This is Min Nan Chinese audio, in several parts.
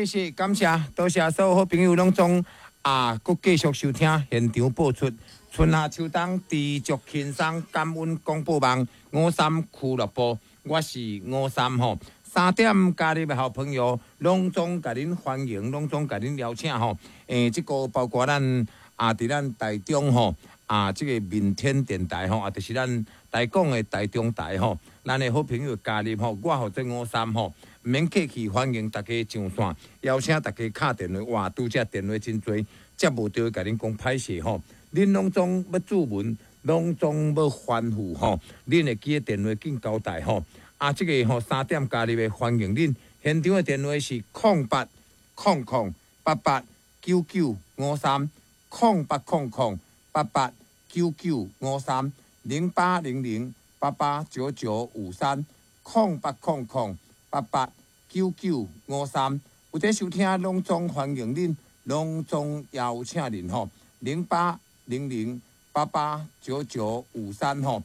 謝謝，感謝，多謝所有好朋友攏總啊，閣繼續收聽現場播出春夏秋冬知足輕鬆感恩廣播網五三俱樂部，我是五三吼。三點加入的好朋友，攏總共恁歡迎，攏總共恁邀請吼。這個包括咱啊，佇咱台中吼，啊，這個民天電台吼，啊，就是咱台港的台中台吼，咱的好朋友加入吼，我負責五三吼，毋免客氣，歡迎大家上線，邀請大家敲電話，哇，拄則電話真濟，接無著共恁講歹勢吼。恁攏總欲注文，攏總欲吩咐吼，恁會記得電話緊交代吼。啊，這個吼三點加入的歡迎恁，現場的電話是0800889953，0800889953，0800889953，0800889953。有佇收聽，攏總歡迎恁，攏總邀請恁吼，0800889953吼。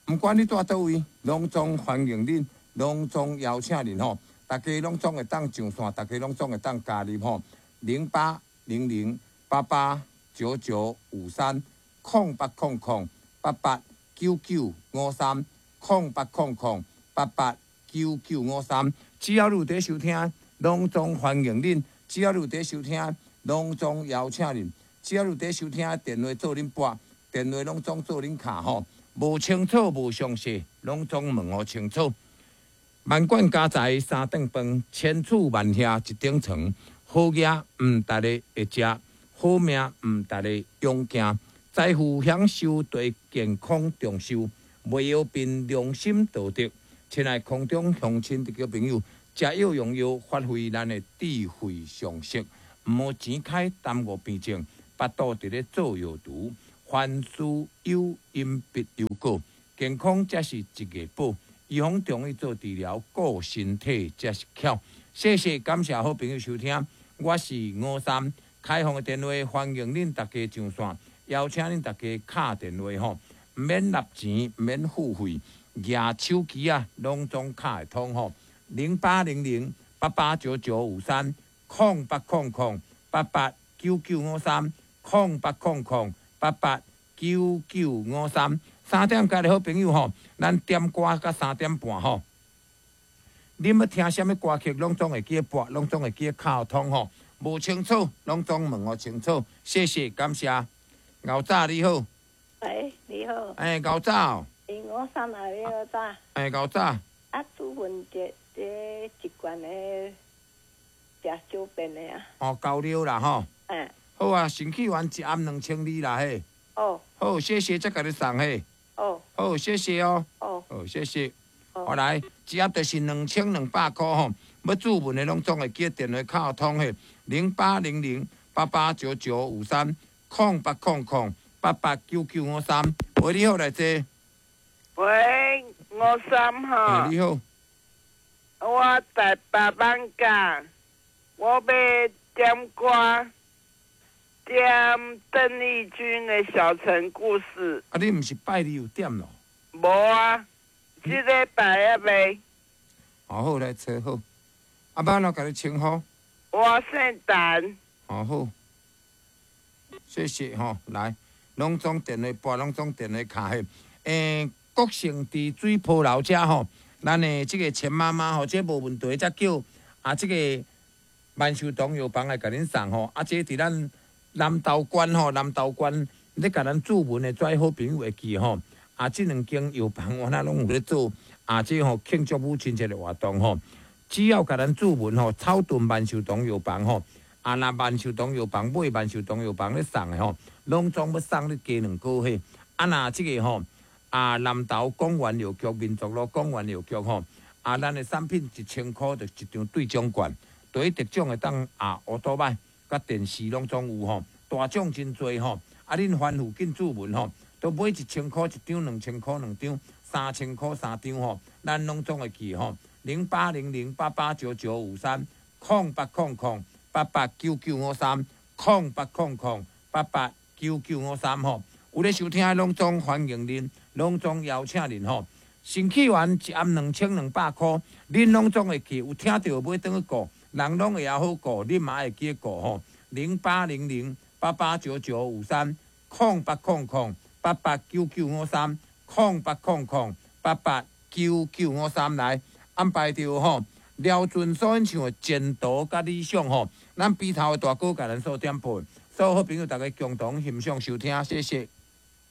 毋管你蹛佗位，攏總歡迎恁，攏總邀請恁吼，大家攏總會當上線，大家攏總會當加入吼，0800889953，0800889953，0800889953。只要你有佇收聽，攏總歡迎恁；只要你有佇收聽，攏總邀請恁；只要你有佇收聽，電話做恁撥，電話攏總做恁敲吼。無清楚、無詳細，攏總問予清楚。萬貫家財三頓飯，千厝萬瓦一頂床。好額毋值得會食，好命毋值得勇行。財富享受對健康長壽，袂藥憑良心道德。親愛空中鄉親弟朋友，食藥用藥，發揮咱的智慧常識，毋好錢開耽誤病症，腹肚佇咧做藥櫥。凡事有因必有果，健康才是一個寶。預防中醫做治療，顧身體才是巧。謝謝，感謝好朋友收聽，我是五三，開放的電話，歡迎恁大家上線，邀請恁大家敲電話吼，毋免納錢，毋免付費，舉手機啊，攏總敲會通吼。0800889953，0800889953，0800889953。三點加入好朋友吼，咱點歌到3點半吼。恁欲聽啥物歌曲，攏總會記得撥，攏總會記得敲通吼。無清楚，攏總問予清楚。謝謝，感謝。牛早你好。喂，你好。哎，牛早。五三啊，你好早。哎，牛早。啊，主問這一罐的食小便的啊。哦，交流啦吼。嗯。好啊，腎氣丸一暗2200啦嘿。哦。好，謝謝，再共你送嘿。哦。好，謝謝哦。哦。好，謝謝。好來，一盒就是2200箍吼，欲注文的攏總會記得電話敲通嘿，0800889953，0800889953。喂，你好，來坐。喂，五三吼。欸，你好。我台北艋舺，我欲點歌，點鄧麗君的《小城故事》。啊，你毋是拜二有點咯？無啊，這禮拜猶未。哦，好，來坐好。啊，欲按怎共你稱呼？我姓陳。哦，好。謝謝吼，來，攏總電話撥，攏總電話敲彼。欸，國姓佇水坡樓遮吼，咱的這個錢媽媽吼，這無問題，才叫啊，這個萬壽堂藥房來共恁送吼。啊，這佇咱南投縣吼，南投縣咧共咱注文的遮好朋友會記吼。啊，這兩間藥房我那攏有咧做啊，這吼慶祝母親節的活動吼。只要共咱注文吼，草屯萬壽堂藥房吼，啊，若萬壽堂藥房買萬壽堂藥房咧送的吼，攏總欲送你加兩個嘿。啊，若這個吼，啊，南投廣元藥局、民族路廣元藥局吼，啊，咱的產品1000箍就一張兌獎券，對得獎會當啊，烏多擺佮電視攏總有吼，大獎真濟吼。啊，恁凡附近注文吼，都買1000箍一張，2000箍兩張，3000箍三張吼，咱攏總會記吼。0800889953，0800889953，0800889953吼。有咧收聽的攏總歡迎恁，攏總邀請恁吼。腎氣丸一盒2200箍，恁攏總會記，有聽著買轉去顧，人攏會曉好顧，你嘛會記顧吼。0800889953，0800889953，0800889953來安排著吼。廖俊所演唱的《前途佮理想》吼，咱埤頭的大哥共咱所點播，所有好朋友大家共同欣賞收聽，謝謝。